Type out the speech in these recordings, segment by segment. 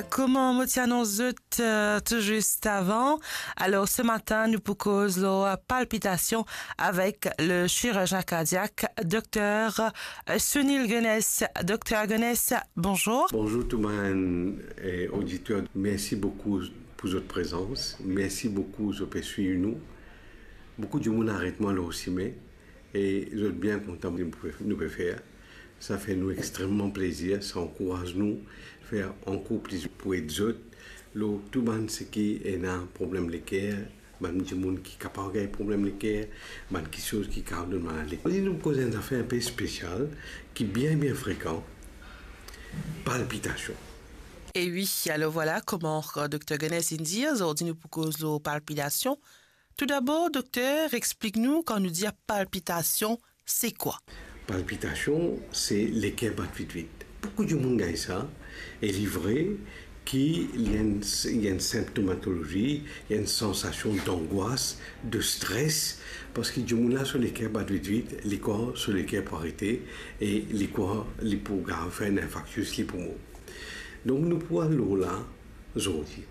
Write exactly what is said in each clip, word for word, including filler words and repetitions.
Kouma mo ti anons zot, euh, tou zis avan, alor, se matin, nou pou koz lor palpitasion avek le chirurgien kardiak, Dokter Sunil Gunness. Dokter Gunness, bonzour. Bonzour tou bann, eh, oditer. Mersi boukou pou zot prezans. Mersi boukou zot pe swiv nou. Boukou dimoun aret mwa lor sime e zot bien kontan nou pe, nou pe fer. Sa fer nou extrememan plezir, sa ankouraz nou fer ankor plis pou ed zot. Lor tou bann seki ena problem leker, bann dimoun ki kapav gagn problem leker, bann kiksoz ki kapav donn malad leker. Ozordi nou koz enn zafer inpe spesial ki bien, bien frekan, palpitasion. E wi, alor vwala kouma, euh, Dokter Gunness inn dir, ozordi nou pou koz lor palpitasion. Toudabor, dokter, explik nou, kan nou dir palpitasion, se kwa? Palpitasion, se leker bat vit-vit. Boukou dimoun gagn sa, e li vre ki li enn, li enn sinptomatolozi, li enn sansasion dangwas, de stres, parski dimoun la so leker bat vit-vit, li krwar so leker pou arete, e li krwar li pou kapav fer enn infarktis, li pou mor. Donk nou pou al lor la zordi.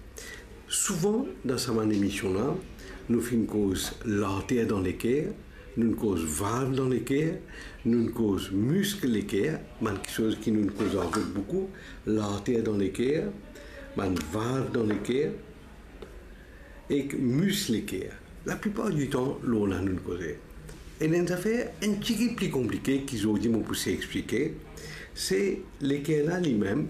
Souvan dan sa bann emision la, nou finn koz larter dan leker, nou'nn koz valv dan leker, nou'nn koz misk leker, bann kiksoz ki nou'nn koz avek boukou, larter dan leker, bann valv dan leker, ek misk leker. Laplipar ditan, lor la nou'nn koze. Ena enn zafer enn tigit pli konplike ki zordi mo pou sey explike, se leker la limem,